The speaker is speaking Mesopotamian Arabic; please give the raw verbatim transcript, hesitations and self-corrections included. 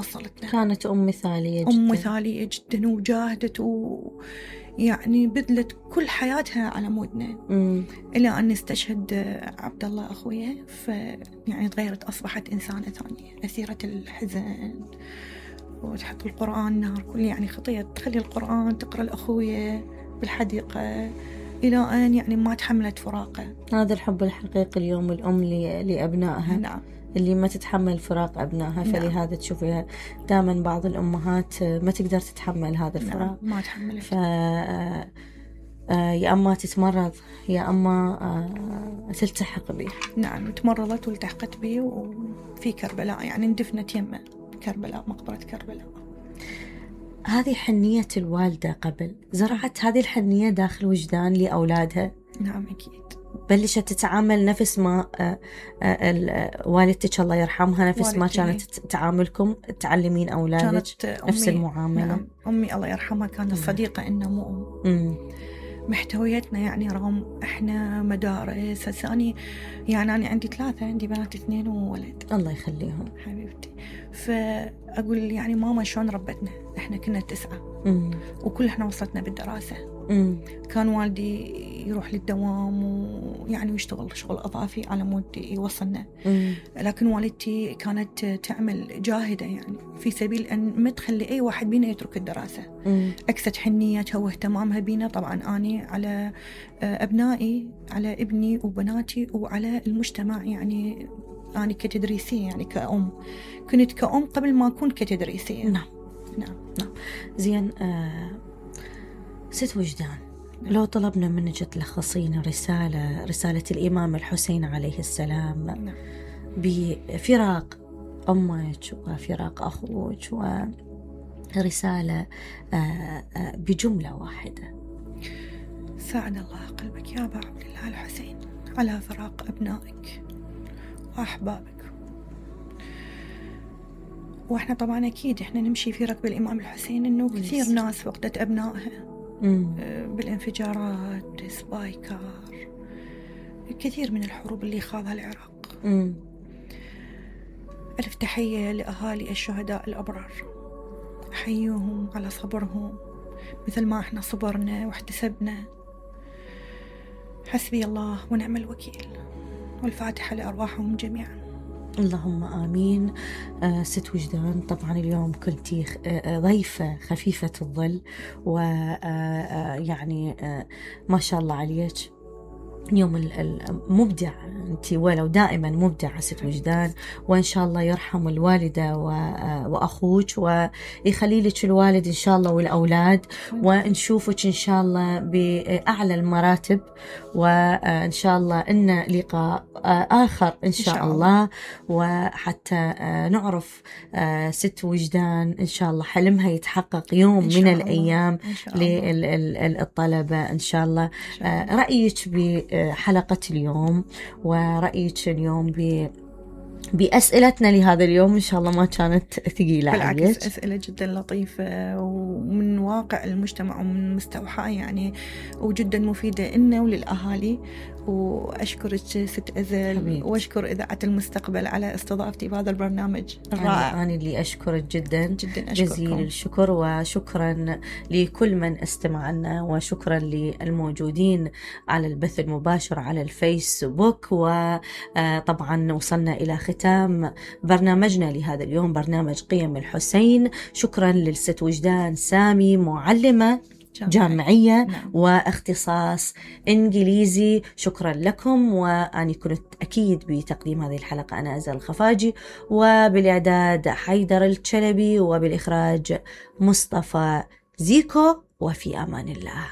وصلتنا. كانت أم مثالية جدا. أم مثالية جدا، وجاهدت ويعني بذلت كل حياتها على مودنا. مم. إلى أن استشهد عبد الله أخويا، فيعني تغيرت، أصبحت إنسانة ثانية، أسيرة الحزن، وتحط القرآن نهار كل يعني خطية، تخلي القرآن تقرأ الأخوية بالحديقة إلى أن يعني ما تحملت فراقه. هذا الحب الحقيقي اليوم الأم لأبنائها. نعم. اللي ما تتحمل فراق أبنائها. نعم. فلهذا تشوفيها دائما بعض الأمهات ما تقدر تتحمل هذا الفراق. نعم. ما تحمل. ف يا أما تتمرض يا أما تلتحق به. نعم، تمرضت والتحقت به وفي كربلاء، يعني اندفنت يمه كربلاء، مقبرة كربلاء. هذه حنية الوالدة قبل، زرعت هذه الحنية داخل وجدان لأولادها. نعم أكيد. بلشت تتعامل نفس ما والدتك الله يرحمها، نفس ما كانت تعاملكم تعلمين أولادك نفس المعاملة. نعم. أمي الله يرحمها كانت صديقة إنه مو أم. محتويتنا يعني رغم إحنا مدارس ثاني، يعني أنا عندي ثلاثة، عندي بنات اثنين وولد الله يخليهم حبيبتي. فأقول يعني ماما شلون ربتنا، إحنا كنا تسعة مم. وكل إحنا وصلتنا بالدراسة. مم. كان والدي يروح للدوام ويعني ويشتغل شغل إضافي على مود يوصلنا. مم. لكن والدتي كانت تعمل جاهدة يعني في سبيل أن ما تخلي أي واحد بينا يترك الدراسة. مم. أكثر حنيتها واهتمامها بينا طبعا أني على أبنائي، على ابني وبناتي وعلى المجتمع. يعني أنا كتدريسية يعني كأم، كنت كأم قبل ما أكون كتدريسية. نعم. نعم. نعم. زين. آه ست وجدان، لو طلبنا منك تلخصين رسالة رسالة الإمام الحسين عليه السلام نعم. بفراق أمك وفراق أخوك، ورسالة بجملة واحدة. ساعد الله قلبك يا أبا عبد الله الحسين على فراق أبنائك وأحبابك. وإحنا طبعا أكيد إحنا نمشي في ركب الإمام الحسين، إنه كثير ناس فقدت أبنائها مم. بالانفجارات، سبايكار، كثير من الحروب اللي خاضها العراق. مم. ألف تحية لأهالي الشهداء الأبرار، أحييهم على صبرهم مثل ما إحنا صبرنا واحتسبنا. حسبي الله ونعم الوكيل، والفاتحة لأرواحهم جميعا. اللهم آمين. آه ست وجدان، طبعا اليوم كنتي آه ضيفة خفيفة الظل، ويعني آه آه ما شاء الله عليك، يوم المبدع أنت، ولو دائما مبدعة ست وجدان. وإن شاء الله يرحم الوالدة وأخوك ويخلي لك الوالد إن شاء الله والأولاد، ونشوفك إن شاء الله بأعلى المراتب، وإن شاء الله إن لقاء آخر إن شاء الله، وحتى نعرف ست وجدان إن شاء الله حلمها يتحقق يوم من الأيام للطلبة إن شاء الله. رأيك بحلقة اليوم ورأيك اليوم ب بأسئلتنا لهذا اليوم إن شاء الله ما كانت ثقيلة عليك؟ بالعكس، أسئلة جدا لطيفة ومن واقع المجتمع ومن مستوحاة يعني، وجدا مفيدة لنا وللأهالي. وأشكرك ست أزل حبيبت. وأشكر إذاعة المستقبل على استضافتي بهذا البرنامج الرائع. أنا اللي أشكرك جدا جدا جزيل الشكر، وشكرا لكل من استمع لنا، وشكرا للموجودين على البث المباشر على الفيسبوك. وطبعا وصلنا إلى ختام برنامجنا لهذا اليوم، برنامج قيم الحسين. شكرا للست وجدان سامي، معلمة جامعية نعم. واختصاص إنجليزي. شكرا لكم، وأنا كنت أكيد بتقديم هذه الحلقة أنا أزل الخفاجي، وبالإعداد حيدر الشلبي، وبالإخراج مصطفى زيكو، وفي أمان الله.